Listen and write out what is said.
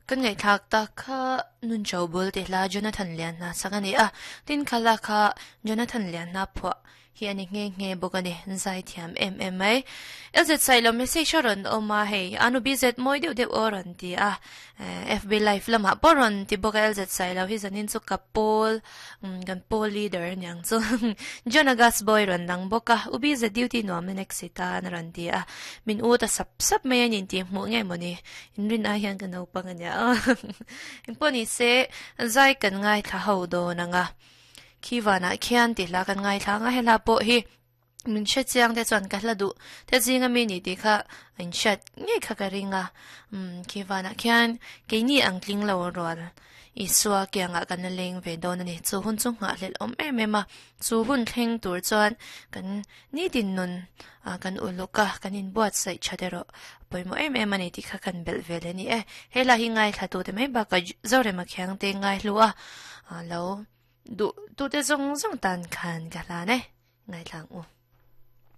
Kan ngaihthlak tak kha Nun Cho Bul tih hla Jonathan Lianhna sak a ni a, tin khala kha Jonathan Lianhna phuah hi a ni nghe nghe bawk a ni, zai thiam em em mai. LZ Sailo message a rawn awm a, hei Anu BZ mawi deuh deuh aw rawn ti a, FB live lamah pawh rawn ti bawk a LZ Sailo hi zanin chu ka pawl kan pawl leader a niang chu John August boy rawn lang bawk a, U BZ duty nuam na next i tan a rawn ti a, min u ta sap sap mai a ni intih hmuh nge mawni inrin ai hian ka naupang a nia engpawh ni se zai kan ngaithla ho dawn ang a. Khi vanah khian tih hla kan ngaithla ang a, he hla pawh hi min hre chiang te chuan ka hla duh te zinga mi ni tih kha a inhriat ngei kha ka ring a, umm khi vanah khian keini ang tling lo rual Isua kiangah kan la leng ve dawn a ni. Chu hun chu nghahhlelh awm em em a, chu hun thleng tur chuan kan nitin nun ah kan uluk a, kan inbuatsaih that erawh a pawimawh em em a ni tih kha kan belh ve leh a ni e. He hla hi ngaithla tute mai bakah Zorema Khiangte ngaihlu a lo duh tute zawng zawng tan khan ka hlan e, ngaithla ang u.